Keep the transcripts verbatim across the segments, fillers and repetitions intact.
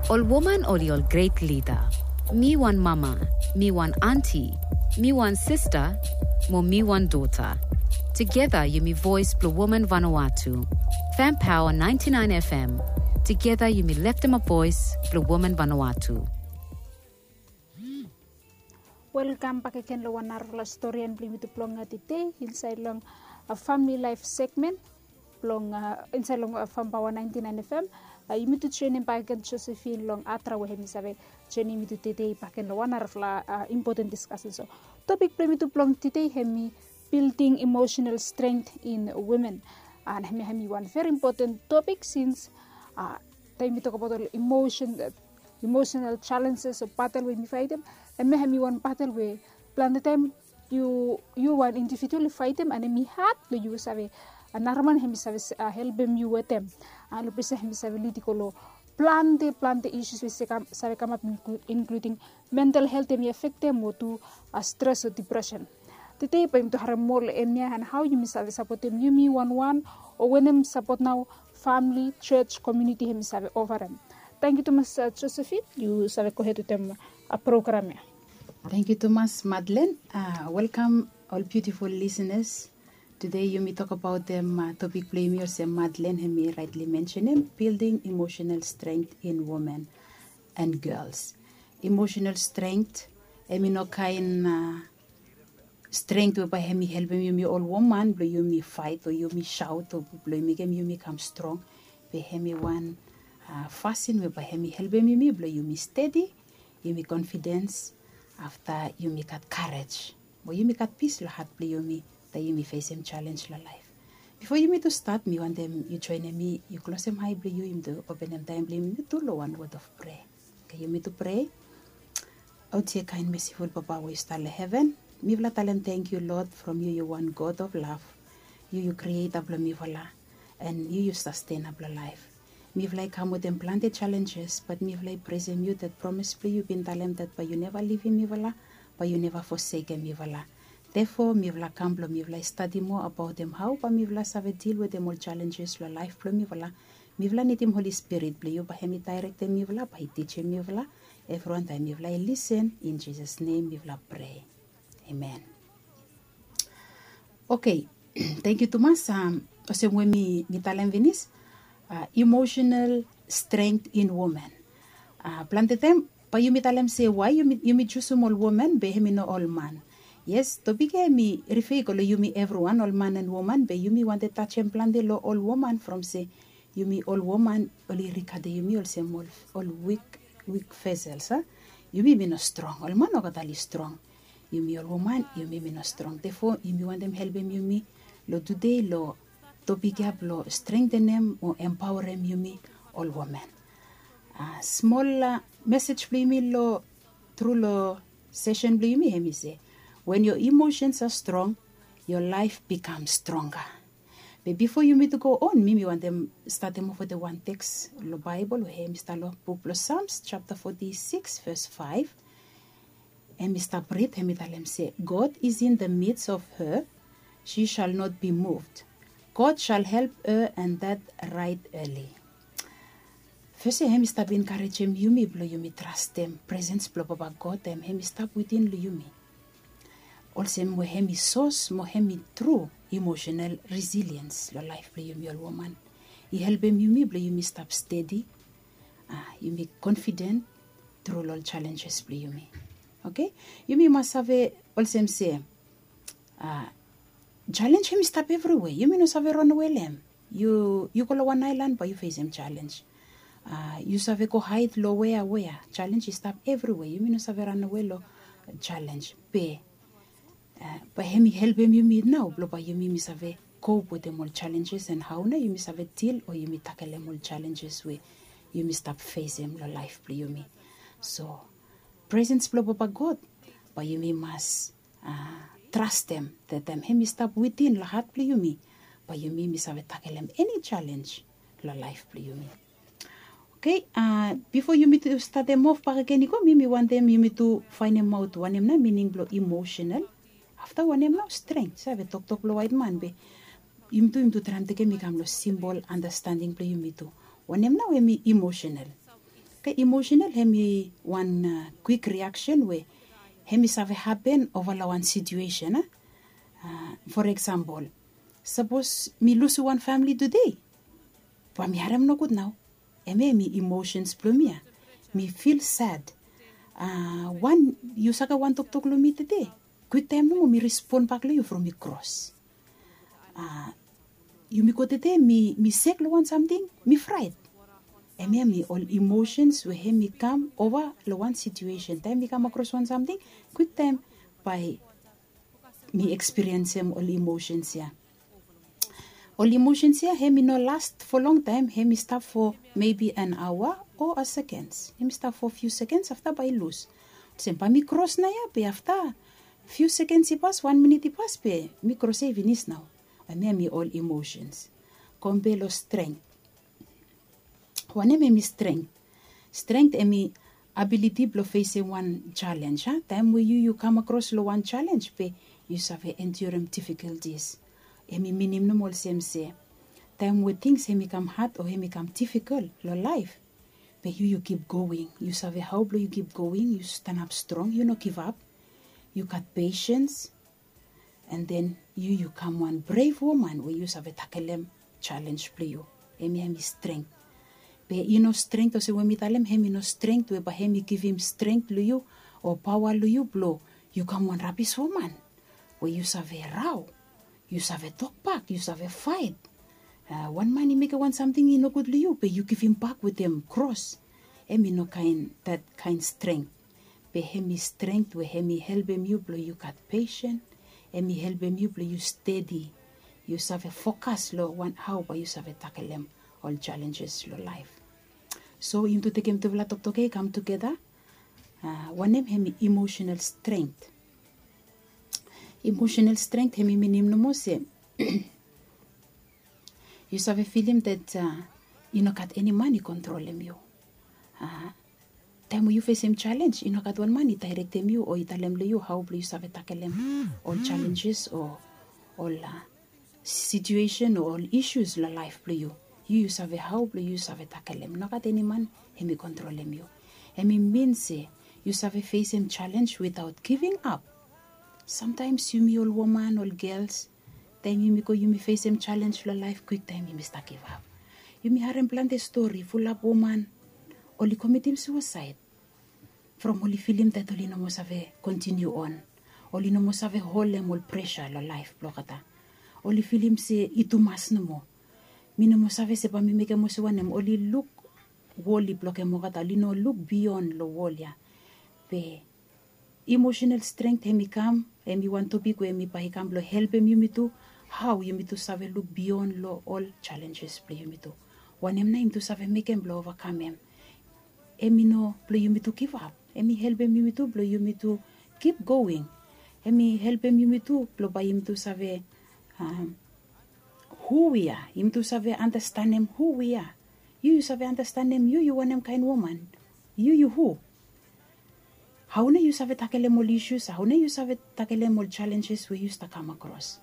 Ol woman oli ol gret lida. Mi wan mama, mi wan anti, mi wan sista, mo mi wan dota. Tugeta yumi voes blong woman Vanuatu. Fem Paoa naenti naen FM. Tugeta yumi leftemap voes blong woman Vanuatu. Welkam bak agen long wan narafala storian blong yumi tu blong tede insaed long famili laef segmen blong insaed long Fam Paoa naenti naen FM. Yumi tu joenem bakegen Josephine long Atra we hemi save joenem yumi tu tede bakegen long wan narafala impoten diskasen. So topik blong yumi tu blong tede hemi building emotional strength in women. And hemi hemi wan veri impoten topik sins taem yumi tokbaot ol emotional challenges o batel we yumi faetem, hemia hemi wan batel we plante taem yu wan individual i faetem and hemi had blong yu save nara man hemi save helpem yu wetem. And long ples ya hemi save lid i go long plante plante issues we save kamap, inkluding mental helt hemi afektem o tu stres o depression. Tede bae yumi tu harem moa long hemia and hao yumi save sapotem yumi wanwan o wanem sapot nao famili, jos, komuniti hemi save ofarem. Tangkiu tumas Josephine, yu save gohed wetem program ya. Tangkiu tumas Madlen. Welkam ol biutiful lisenas. Tede yumi tokbaotem topik blong yumi olsem Madlen hemi raetli mensenem, building emotional strength in women and girls. Emotional strength hemi no kaen strength we bae hemi helpem yumi ol woman blong yumi faet o yumi saot o blong mekem yumi kam strong. Be hemi wan fasin we bae hemi helpem yumi blong yumi stedi, yumi konfidens, afta yumi gat karej mo yumi gat pis long hat blong yumi taem yumi fesem jalenj long laef. Bifo yumi tu stat, mi wantem yu joenem mi, yu klosem ae blong yu, yumi tu openem taem blong yumi tu long wan wod of prea. Oke, yumi tu prea. O yumi kaen mesiful Papa we yu stap long heven, mifala talem tangkiu Lod from yu yu wan God of lav. Yu yu krieta blong mifala, and yu yu sastenap long laef. Mifala i kam wetem plante jalenjes, bat mifala i presem yu dat promes blong yu bin talem dat bae yu neva livim mifala, bae yu neva fosekem mifala. Therefore mifala kam blong mifala i stadi moa abaotem hao bae mifala save dil wetem ol jalenjes long laef blong mifala. Mifala nidim Holi Spirit blong yu bae hemi daerektem mifala, bae i tijim mifala evriwan taem mifala i lisen. In Jisas nem mifala prea. Amen. Oke, tangkiu tumas. Olsem we mi talem finis, emotional strength in women. Plante taem bae yumi talem se wae yumi jusum ol woman be hemi no ol man. Yes, topik ya hemi rifea i go long yumi evriwan, ol man and woman, be yumi wantem tajem plante long ol woman from se yumi ol woman oli rigadem yumi olsem ol wik, wik vesels a. Yumi mi no strong, ol man olgeta oli strong. Yumi ol woman yumi mi no strong. Therefore yumi wantem helpem yumi long tede long topik ya blong strengtenem o empaorem yumi ol woman. Smol mesej blong yumi long tru long sesen blong yumi hemi se, when your emotions are strong, your life becomes stronger. Be bifo yumi tu go on, mi mi wantem statem of wetem wan teks long Baebol we hemi stap long buk blong Psalms japta forty-six verse five. Hemi stap rid, hemi talem se, God is in the midst of her, she shall not be moved. God shall help her, and that right early. Fes ya hemi stap enkarejem yumi blong yumi trastem presens blong Papa God taem hemi stap wetem long yumi. Olsem we hemi sos mo hemi tru emotional resilience long laef blong yumi ol woman. I helpem yumi blong yumi stap stedi, yumi konfiden tru long ol jalenjes blong yumi. Oke, yumi mas save olsem se jalenj hemi stap evriwea. Yumi no save ranawe long hem. Yu go long wan aelan bae yu fesem jalenj. Yu save go haed long wea wea. Jalenj i stap evriwea. Yumi no save ranawe long jalenj. Be bae hemi helpem yumi nao blong bae yumi mi save kop wetem ol jalenjes and hao nao yumi save dil o yumi takelem ol jalenjes we yumi stap fesem long laef blong yumi. So presens blong Papa God bae yumi mas trastem, taem hemi stap wetem long hat blong yumi, bae yumi mi save takelem eni jalenj long laef blong yumi. Oke, bifo yumi tu statem of bakegen i go, mi mi wantem yumi tu faenemaot wanem nao mining blong emotional. Afta wanem nao strength, save toktok blong waetman be yumi tu yumi tu traem tekem i kam long simpol andastending blong yumi tu. Wanem nao hemi emotional? Oke, emotional hem i wan kwik riaksen we hem i save hapen ova long wan situesen a. For eksempel, sapos mi lusim wan famili tude, bae mi harem nogud nao. Hemia hem i emosens blong mi ya. Mi fil sad. Wan yu saga wan toktok long mi tude, kwiktaem nomo mi respon bak long yu from mi kros. Yumi go tude mi sek long wan samting, mi fraet. Hemia hem i ol emosens we hem i kam ova long wan situesen taem mi kam akros wan samting, kwiktaem bae mi ekspiriensem ol emosens ya. Ol emosens ya hem i no last fo longtaem, hem i stap fo mebi an aoa o a sekens. Hem i stap fo fiu sekens afta bae i lus. Olsem bae mi kros nao ya be afta fiu sekens i pas, wan minit i pas be mi kros ya i finis nao. Hemia hem i ol emosens. Kompe long strength. Wanem hem i strength? Strength hem i abiliti blong fesem wan jalenj a. Taem we yu yu kam akros long wan jalenj be yu save endurim difikultis. Hem i minim nomo olsem se taem we tings hem i kam had o hem i kam difikol long laef, be yu yu kip going. Yu save hao blong yu kip going, yu stanap strong, yu no givap. Yu gat pesens. An den yu yu kam wan brev woman we yu save takelem jalenj blong yu. Hemia hem i strength. Be i no strength olsem we mi talem, hem i no strength we bae hem i givim strength long yu o paoa long yu blong yu kam wan rabis woman we yu save rao, yu save tokbak, yu save faet. Wan man i mekem wan samting i nogud long yu be yu givimbak wetem kros. Hem i no kaen dat kaen strength. Be hem i strength we hem i helpem yu blong yu gat pesen. Hem i helpem yu blong yu stedi, yu save fokas long wan hao bae yu save takelem ol jalenjes long laef. So yumi tekem tufala toktok ya i kam tugeta. Wanem hem i emosenal strength? Emosenal strength hem i minim nomo se yu save filim dat i no gat eni man i kontrolem yu. Taem we yu fesem jalenj i no gat wan man i daerektem yu o i talem long yu hao blong yu save takelem ol jalenjes o ol situesen o ol isus long laef blong yu. Yu yu save hao blong yu save takelem, no gat eni man hem i kontrolem yu. Hem i min se yu save fesem jalenj witaot giving ap. Samtaems yumi ol woman, ol gels, taem yumi go yumi fesem jalenj long laef kwiktaem yumi stap givap. Yumi harem plante stori fulap woman oli komitim suasaed from oli filim dat oli no moa save kontiniu on. Oli no moa save holem ol presa long laef blong olgeta. Oli filim se i tumas nomo. Mi no moa save se bae mi mekem olsem wanem. Oli luk wol i blokem olgeta, oli no luk bion long wol ya. Be emosenal strength hem i kam, hem i wan topik we hem i bae i kam blong helpem yumi tu hao yumi tu save luk bion long ol jalenjes blong yumi tu. Wanem nao yumi tu save mekem blong ovakamem? Hem i no blong yumi tu givap. Hem i helpem yumi tu blong yumi tu kip going. Hem i helpem yumi tu blong bae yumi tu save hu wi ya. Yumi tu save andastanem hu wi ya. Yu yu save andastanem yu yu wanem kaen woman. Yu yu hu? Hao nao yu save takelem ol isus? Hao nao yu save takelem ol jalenjes we yu stap kam akros?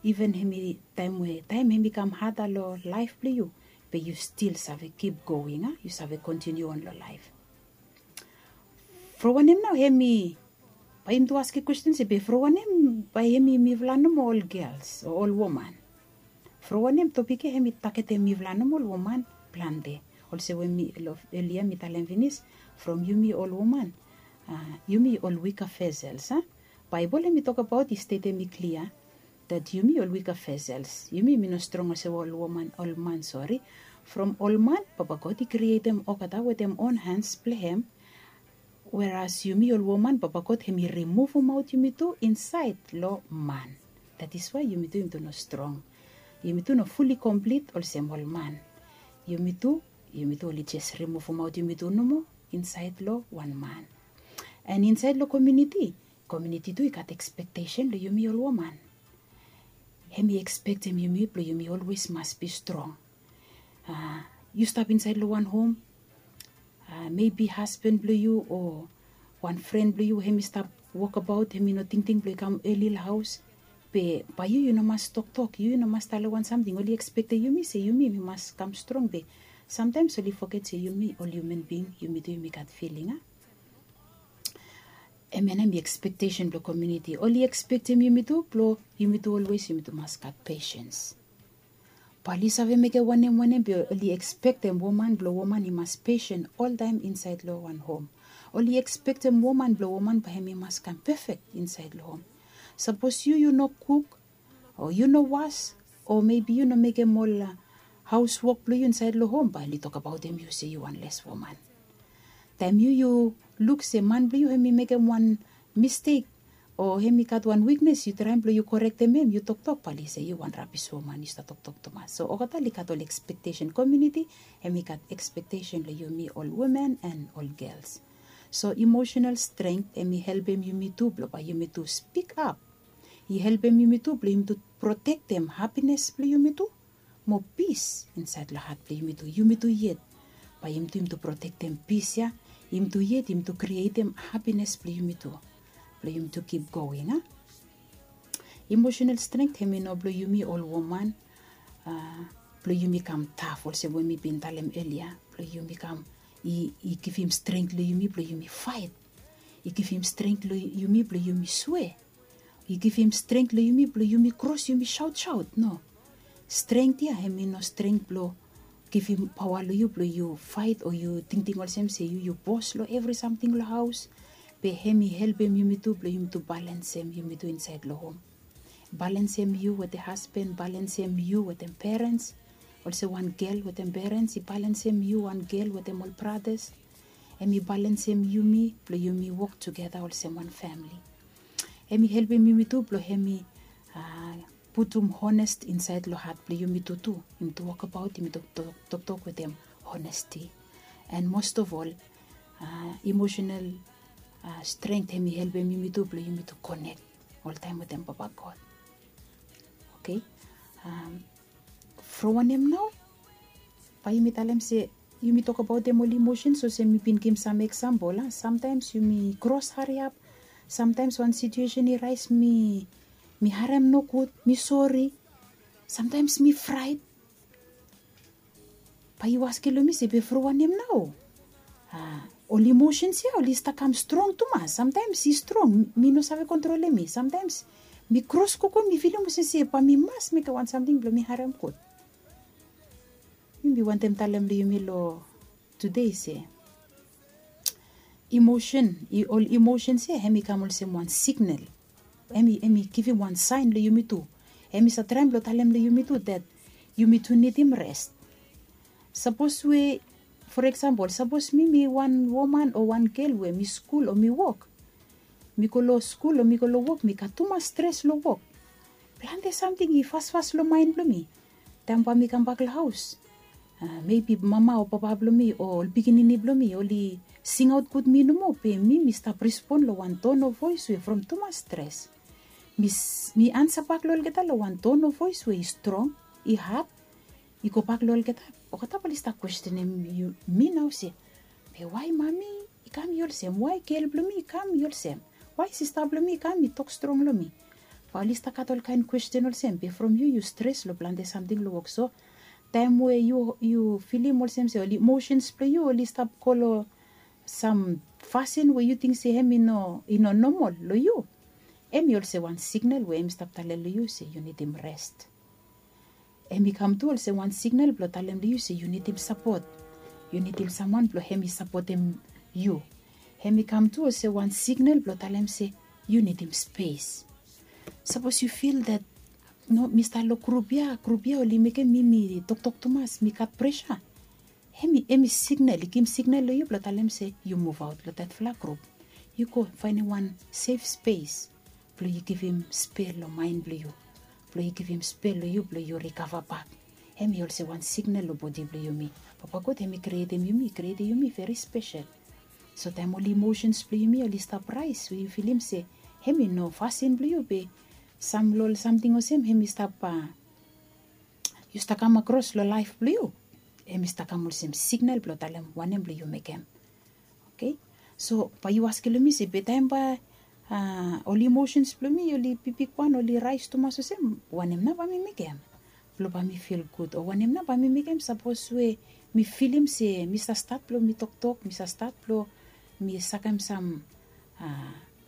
Iven hem i taem we taem hem i kam hada long laef blong yu, be yu stil save kip going a, yu save kontiniu on long laef. From wanem nao hem i, bae yumi tu askem kwesten se be from wanem bae hem i mifala nomo ol gels o ol woman? From wanem topik ya hem i tagetem mifala nomo ol woman plante? Olsem we mi long elia mi talem finis, from yumi ol woman, yumi ol wika vesels a. Baebol hem i tokbaot, i stetem i klia dat yumi ol wika vesels, yumi mi no strong olsem ol woman, ol man, sori. From ol man Papa God i krietem olgeta wetem on hans blong hem. Weras yumi ol woman Papa God hem i rimuvumaot yumi tu insaed long man. That is why yumi tu yumi tu no strong. Yumi tu no fuli komplit olsem ol man. Yumi tu, yumi tu oli jes rimuvumaot yumi tu nomo insaed long wan man. An insaed long komuniti, komuniti tu i gat ekspektesen long yumi ol woman. Hem i ekspektem yumi blong yumi olwes mas bi strong. Yu stap insaed long wan hom, mebi hasban blong yu o wan fren blong yu hem i stap wokbaot, hem i no tingting blong i kam eli long haos. Be bae yu yu no mas toktok, yu yu no mas talem wan samting. Oli ekspektem yumi se yumi mi mas kam strong be Samtaims oli foget se yumi ol hiuman bing, yumi tu yumi gat filing a. Em ya nao em i ekspektesen blong komuniti. Oli ekspektem yumi tu blong yumi tu olwes yumi tu mas gat pesens. Bae oli save mekem wanem wanem be oli ekspektem woman blong woman i mas pesen oltaem insaed long wan hom. Oli ekspektem woman blong woman bae hem i mas kam pefek insaed long hom. Sapos yu yu no kuk, o yu no was, o mebi yu no mekem ol haos wok blong yu insaed long hom, bae oli tokbaotem yu se yu wan les woman. Taem yu yu luk se man blong yu hem i mekem wan mistek, o hem i gat wan wiknes, yu traem blong yu korektem hem, yu toktok, bae oli se yu wan rabis woman, yu stap toktok tumas. So olgeta oli gat ol ekspektesen. Komuniti hem i gat ekspektesen long yumi ol woman and ol gels. So emotional strength hem i helpem yumi tu blong bae yumi tu spikap. I helpem yumi tu blong yumi tu protektem hapines blong yumi tu, mo pis insaed long hat blong yumi tu. Yumi tu yet, bae yumi tu yumi tu protektem pis ya. Yumi tu yet yumi tu krietem hapines blong yumi tu, blong yumi tu kip going a. Emosenal strength hem i no blong yumi ol woman, blong yumi kam taf olsem we mi bin talem elia, blong yumi kam i givim strength long yumi blong yumi faet. I givim strength long yumi blong yumi swe. I givim strength long yumi blong yumi kros yumi saotsaot, no. Strength ya hem i no strength blong givim paoa long yu blong yu faet o yu tingting olsem se yu yu bos long evri samting long haos. Be hem i helpem yumi tu blong yumi tu balensem yumi tu insaed long hom. Balensem yu wetem hasban, balensem yu wetem perens. Olsem wan gel wetem perens i balensem yu wan gel wetem ol bratas. Hem i balensem yumi blong yumi wok tugeta olsem wan famili. Hem i helpem yumi tu blong hem i putum honest insaed long hat blong yumi tu tu. Yumi tu wokbaot yumi tu toktok wetem honesti. And most of all, emotional strength hem i helpem yumi tu blong yumi tu konek oltaem wetem Papa God. Okei. From wanem nao? Bae yumi talem se yumi tokbaotem ol emosens olsem mi bin givim sam eksampol a. Samtaims yumi kros hariap. Samtaims wan situesen i raes mi mi harem nogud, mi sori. Samtaims mi fraet. Bae yu askem long mi se be from wanem nao? Ol emosens ya oli stap kam strong tumas. Samtaims i strong, mi no save kontrolem mi. Samtaims mi kros gogo mi filim olsem se bae mi mas mekem wan samting blong mi harem gud. Mi bin wantem talem long yumi long tude se emosen, ol emosens ya hem i kam olsem wan siknel. Hem i givim wan saen long yumi tu. Hem i save traem blong talem long yumi tu dat yumi tu nidim res. Sapos we, for eksampol, sapos mi mi wan woman o wan gel we mi skul o mi wok, mi go long skul o mi go long wok mi gat tumas stres long wok. Plante samting i fasfas long maen blong mi. Taem bae mi kambak long haos, mebi mama o papa blong mi o ol pikinini blong mi oli singaot gud mi nomo be mi mi stap respon long wan ton of voes we from tumas stres. Mi ansa bak long olgeta long wan ton of voes we i strong, i had, i gobak long olgeta. Olgeta bae oli stap kwestenem mi nao se, be wae mami i kam i olsem? Wae gel blong mi i kam i olsem? Wae sista blong mi i kam i tok strong long mi? Bae oli stap gat olkaen kwesten olsem be from yu yu stres long plante samting long wok. So taem we yu filim olsem se ol emosens blong yu oli stap go long sam fasin we yu ting se hem i no i no nomol long yu, hem i olsem wan siknel we hem i stap talem long yu se yu nidim res. Hem i kam tu olsem wan siknel blong talem long yu se yu nidim sapot. Yu nidim samwan blong hem i sapotem yu. Hem i kam tu olsem wan siknel blong talem se yu nidim spes. Sapos yu fil dat no mi stap long grup ya, grup ya oli mekem mi mi toktok tumas, mi gat presa. Hem i siknel, i givim siknel long yu blong talem se yu muvaot long datfala grup. Yu go faenem wan sef spes blong yu givim spel long maen blong yu, blong yu givim spel long yu blong yu rikava bak. Hem i olsem wan siknel long bodi blong yumi. Papa God hem i krietem yumi, i krietem yumi veri spesel. So taem ol emosens blong yumi oli stap raes we yu filim se hem i no fasin blong yu be sam long ol samting olsem hem i stap yu stap kam akros long laef blong yu, hem i stap kam olsem siknel blong talem wanem blong yu mekem. Okei. So bae yu askem long mi se be taem bae ol emosens blong mi oli bigbigwan, oli raes tumas olsem, wanem nao bae mi mekem blong bae mi fil gud? O wanem nao bae mi mekem sapos we Mi filim se mi sa stat blong mi toktok, mi sa stat blong mi sakem sam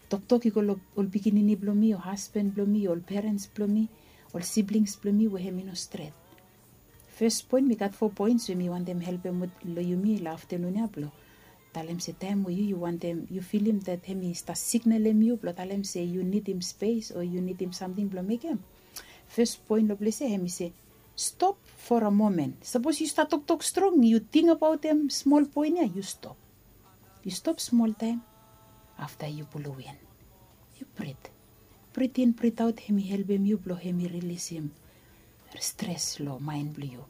toktok i go long ol pikinini blong mi o hasban blong mi o ol perens blong mi, ol siblings blong mi we hem i no stret. Fes poen mi gat fo poens we mi wantem helpem long yumi long aftanun ya blong talem se taem we yu yu wantem yu filim dat hem i stap signalem yu blong talem se yu nidim spes o yu nidim samting blong mekem. Fes poen long ples ya hem i se stop for a moment. Sapos yu stap toktok strong yu ting abaotem smol poen ya yu stop. Yu stop smol taem afta yu pulum win. Yu brit. Brit in brit aot hem i helpem yu blong hem i rilisim stres long maen blong yu.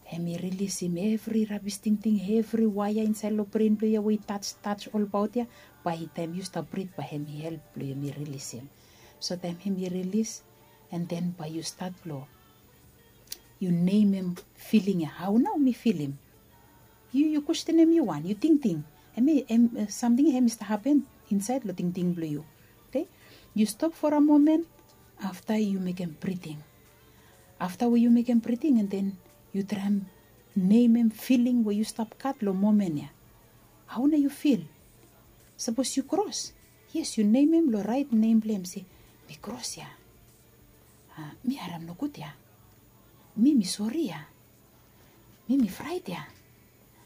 Hem i rilisim evri rabis tingting evri waea insaed long bren blong yu ya we i taj taj olbaot ya. Bae taem yu stap brit bae hem i help blong hem i rilisim. So taem hem i rilis, an den bae yu stat blong yu nemem filing ya hao nao mi filim. Yu yu kwestenem yu wan yu tingting, em i em samting ya hem i stap hapen insaed long tingting blong yu. Oke, yu stop fo a momen. Afta yu mekem briting. Afta we yu mekem briting an den yu traem nemem filing we yu stap gat long momen ya. Hao nao yu fil? Sapos yu kros, yes yu nemem long raet nem blong hem se mi kros ya. Mi harem nogud ya. Mi mi sori ya. Mi mi fraet ya.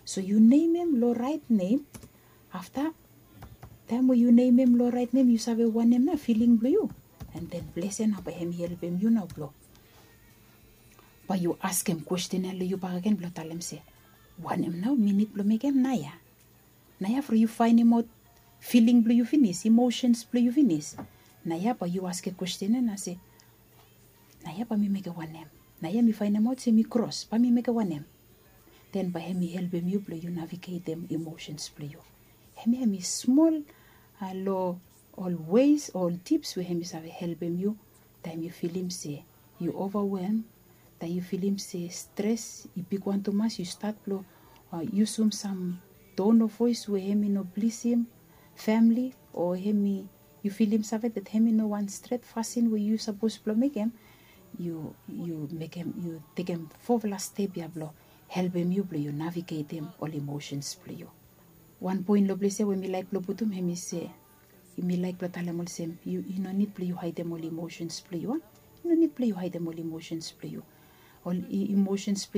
So yu nemem long raet nem. Afta taem we yu nemem long raet nem yu save wanem nao filing blong yu. An den ples ya nao bae hem i helpem yu nao blong bae yu askem kwesten ya long yu bakegen blong talem se wanem nao mi nid blong mekem naoia? Naoia from yu faenemaot filing blong yu finis, imosens blong yu finis. Naoia bae yu askem kwesten ya nao se naoia bae mi mekem wanem? Naoia mi faenemaot se mi kros bae mi mekem wanem? Den bae hem i helpem yu blong yu navigetem imosens blong yu. Hemia hem i smol long ol weis o ol tips we hem i save helpem yu taem yu filim se yu ovawelm, taem yu filim se stres i bigwan tumas yu stat blong yusum sam ton of voes we hem i no blisim famili o hem i yu filim save dat hem i no wan stret fasin we yu sapos blong mekem. Yu yu mekem yu tekem fofala step ya blong helpem yu blong yu navigetem ol imosens blong yu. Wan poen long ples ya we mi laek blong putum hem i se mi laek blong talem olsem yu i no nid blong yu haedem ol imosens blong yu a. I no nid blong yu haedem ol imosens blong yu. Ol imosens blong